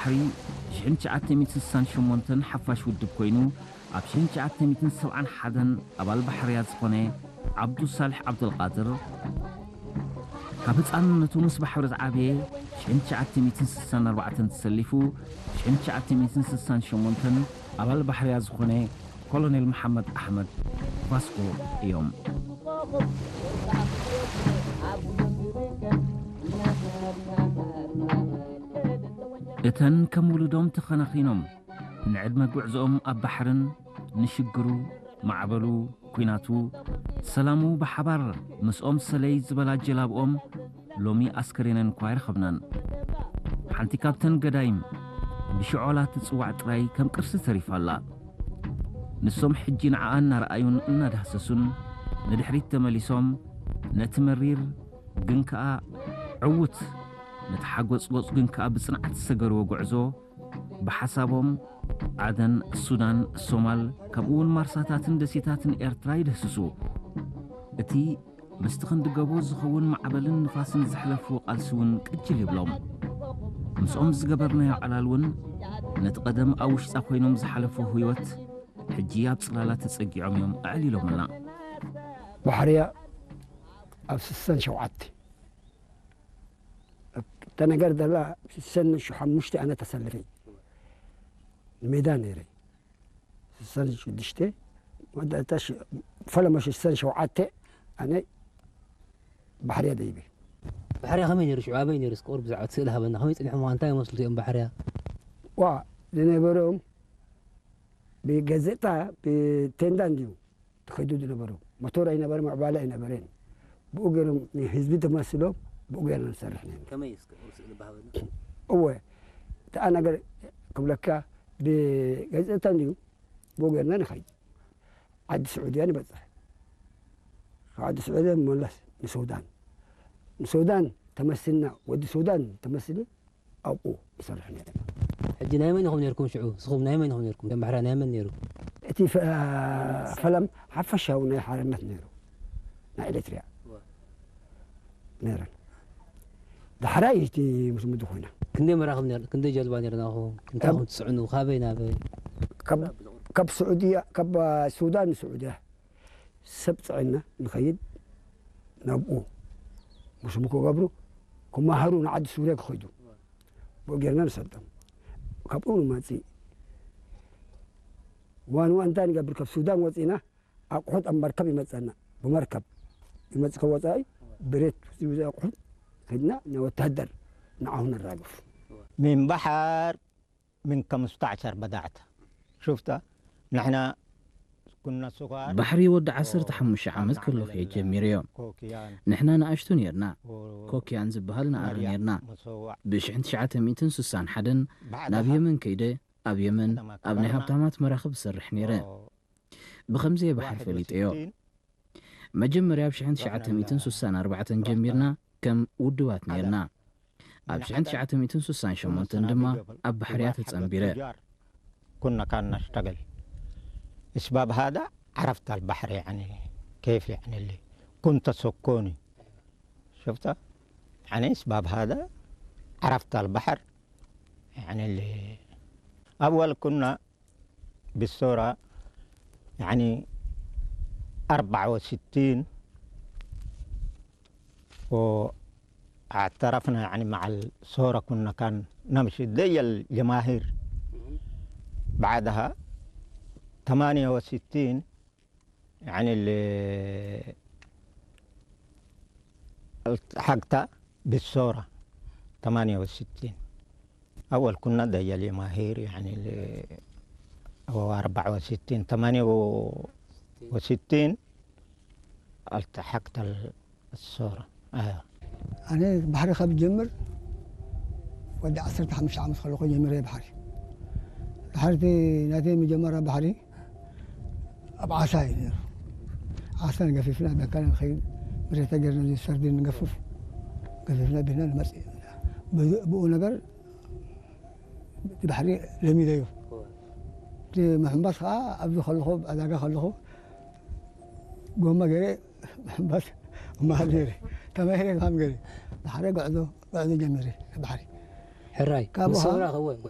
ባሕሪ ሽሕን ትሽዓተ ሚእትን ስሳን ሸሞንተን ሓፋሽ ውድብ ኮይኑ፣ ኣብ ሽሕን ትሽዓተ ሚእትን ሰብዓን ሓደን ኣባል ባሕርያ ዝኾነ ዓብዱ ሳልሕ ዓብደልቃድር፣ ካብ ህፃንነቱ ምስ ባሕሪ ዝዓበየ፣ ሽሕን ትሽዓተ ሚእትን ስሳን ኣርባዕተን ተሰሊፉ፣ ሽሕን ትሽዓተ ሚእትን ስሳን ሸሞንተን ኣባል ባሕርያ ዝኾነ ኮሎኔል መሓመድ ኣሕመድ ቫስኮ እዮም። እተን ከም ውሉዶም ተኸናኺኖም ንዕድመ ጉዕዞኦም ኣብ ባሕርን ንሽግሩ፣ ማዕበሉ፣ ኲናቱ፣ ሰላሙ ብሓባር ምስኦም ሰለይ ዝበላ ጀላብኦም ሎሚ ኣስከሬነን እኳ ኣይረኸብናን። ሓንቲ ካብተን ገዳይም ብሽዖላ ትጽዋዕ ጥራይ ከም ቅርሲ ተሪፋ ኣላ። ንሶም ሕጂ ንዓኣ እናረኣዩን እናዳህሰሱን ንድሕሪት ተመሊሶም ነቲ መሪር ግን ከኣ ዕዉት፣ ነቲ ሓጎጽጎጽ ግን ከኣ ብጽንዓት ዝሰገርዎ ጉዕዞ ብሓሳቦም ዓደን፣ ሱዳን፣ ሶማል፣ ከምኡውን ማርሳታትን ደሴታትን ኤርትራ ይድህስሱ። እቲ ምስቲ ክንዲ ገቦ ዝኸውን ማዕበልን ንፋስን ዘሕለፍዎ ቃልሲ እውን ቅጅል ይብሎም። ምስኦም ዝገበርናዮ ዕላል እውን ነቲ ቀደም ኣብ ውሽጣ ኮይኖም ዝሓለፍዎ ህይወት ሕጂ ኣብ ጽላላ ተጸጊዖም እዮም ኣዕሊሎምልና። ባሕርያ ኣብ ስሳን ሸውዓተ እታ ነገር ዘላ ስሳን ሓሙሽተ ኣነ ተሰልፈ ሜዳ ነይረ። ስሳን ሽዱሽተ መወዳእታ ሽ-፣ ፈለማ ስሳን ሸውዓተ ኣነ ባሕርያ ደይበ። ባሕርያ ከመይ ነይሩ? ሽዑ ኣበይ ነይሩ? እስኪ ቁሩብ ብዛዕባ እቲ ስእሊ ሃበና። ከመይ ጸኒሖም? እንታይ ይመስሉ እዮም ባሕርያ? ዋ፣ ዝነበሮም ብጋዜጣ፣ ብቴንዳ እንድዩ ትኸዱ ዝነበሩ። ሞቶር ኣይነበረ፣ ምዕባለ ኣይነበረን። ብኡ ገይሮም ንህዝቢ ተመስሎም፣ ብኡ ገይሮም ንሰርሕ ነይሩ። ከመይ እስከ ቁሩብ ስእሊ ብሃበና። እወ፣ እታ ነገር ክብለካ፣ ብጋዜጣ እንድዩ ብኡ ገይርና ንኸይድ። ዓዲ ስዑድያ ንበጽሕ። ካብ ዓዲ ስዑድያ ንመለስ ንሱዳን። ንሱዳን ተመስልና፣ ወዲ ሱዳን ተመስሊ ኣብኡ ንሰርሕ ነይርና። ሕጂ ናይ መን ኢኹም ነይርኩም ሽዑ? ንስኹም ናይ መን ኢኹም ነይርኩም? ከም ባሕርያ ናይ መን ነይሩ? እቲ ፈ-፣ ፈለም ሓፈሻዊ ናይ ሓርነት ነይሩ። ናይ ኤሪትሪያ እወ። ነይረን። ዳሕራይ እቲ ምስ ምዱ ኮይና። ክንደይ መራኽብ ነይር-፣ ክንደይ ጀልባ ነይርናኹም? እንታይ ካብ ኢኹም ትጽዕኑ? ካበይ ናበይ? ካብ፣ ካብ ስዑድያ፣ ካብ ሱዳን ንስዑድያ ሰብ ጽዒና ንኸይድ ናብኡ። ምስሙ ክገብሩ፣ ክመሃሩ ንዓዲ ሱርያ ክኸይዱ። ብኡ ጌርና ንሰዶም። ካብኡ ንመጽእ። ዋን ዋን እንታይ ንገብር? ካብ ሱዳን ወጺና፣ ኣቑሑት ኣብ መርከብ ይመጸና። ብመርከብ ይመጽእ ካብ ወጻኢ፣ ብሬት ዝብዙ ኣቑሑት ከድና፣ ንወታደር ንዓሁ ነራግፍ። من بحر من خمستاشر بدأت. شفت؟ نحن كنا صغار ባሕሪ ወዲ ዓሰርተ ሓሙሽተ ዓመት ከለኹ እየ ጀሚረዮ። ኮክያን ንሕና ንኣሽቱ ነይርና። ኮክያን ዝበሃል ንኣሪ ነይርና። ብሽሕን ትሽዓተ ሚእትን ስሳን ሓደን ናብ የመን ከይደ፣ ኣብ የመን ኣብ ናይ ሃብታማት መራኽብ እሰርሕ ነይረ። ብኸምዚ እየ ባሕሪ ፈሊጠዮ። መጀመርያ ኣብ ሽሕን ትሽዓተ ሚእትን ስሳን ኣርባዕተን ጀሚርና ከም ውድባት ነይርና። ኣብ ሽሕን ትሽዓተ ሚእትን ስሳን ሸሞንተን ድማ ኣብ ባሕርያ ተጸንቢረ። كنا كان نشتغل. أسباب هذا عرفت البحر يعني كيف يعني اللي كنت سكوني. شفت؟ يعني أسباب هذا عرفت البحر يعني اللي أول كنا بالصورة يعني أربعة وستين واعترفنا يعني مع الصورة كنا كان نمشي زي الجماهير. بعدها ثمانية وستين يعني اللي التحقت بالصورة ثمانية وستين. أول كنا دجال ماهر يعني ل-، هو أربعة وستين، ثمانية وستين التحقت ال-، الصورة. آه. ኣነ ባሕሪ ካብ ጀምር ወዲ ዓሰርተ ሓሙሽተ ዓመት ከለኹ ጀሚረ ባሕሪ። ድሓርቲ ናተይ መጀመርያ ባሕሪ ኣብ ዓሳ እዩ ነይሩ። ዓሳ ንገፊፍና ብኣካል ንኸይድ፣ ብሬተ ገርና ሰርዲ ንገፍፍ፣ ገፊፍና ቢልና ንመጽእ። ብኡ ነገር እቲ ባሕሪ ለሚደዮ። እቲ ምሕንባስ ከዓ ኣብዚ ከለኹ፣ ኣብ ዕዳጋ ከለኹ፣ ጎማ ገይረ ምሕንባስ እመሃር ነይረ። ተማሂረ ከም ገይረ። ድሓረ ጉዕዞ፣ ጉዕዞ ጀሚረ ባሕሪ። ሕራይ፣ ካብኡ ምስ ከዓ ሰውራ ከወ፣